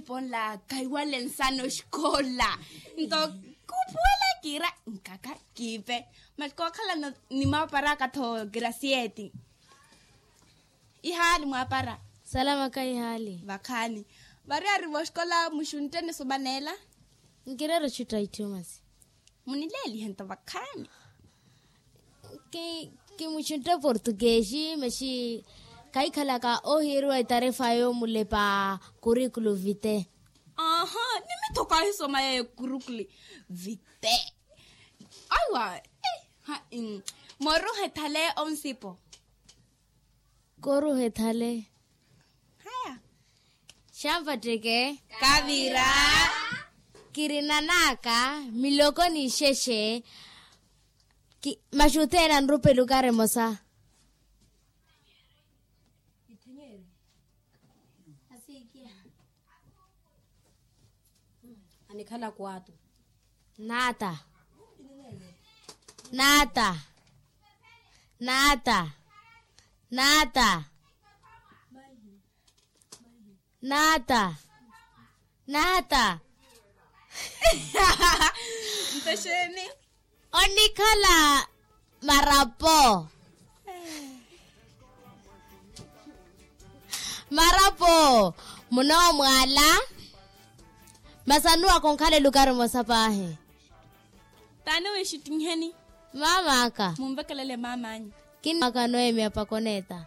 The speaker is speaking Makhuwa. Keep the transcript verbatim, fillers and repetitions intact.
Ponla kaiwale nsana oxikola. Nto kupuwela kiira nkaka kiipe. Masi kookhalana ni mwaparaka-tho grasieti. Ihaali mwapara? Salamaka ihaali. Vakhaani. Vari ari voxikola muxuntte ni somaneela? Nkireera oxutta itthu masi. Munileelihe nto vakhaani. Kimuxuntte portuguesi masi. Kahikhalaka ohiiriwa etarefa yoomulepa kurikulu vite. Aha. Ni mitho kaahisoma yeyo kurikulu vite. Aiwa. Moruha ethale onsipo. Koruha ethale. Haya. Xanvatteke. Kavira. Kirinanaka miloko n'ixexe. Maxuthena nrupe lukari emosa. Anikhala kuwatu. Naata. Naata. Naata. Naata. Naata. Naata. Ntexeeni. Onikhala marapo. Marapo. Munoomwala. Masanuwa konkhala elukari emosa paahi. Taani wixittinheni. Maam'aka. Munvekelele maam'anyu. Kinaka noemya pakoneta.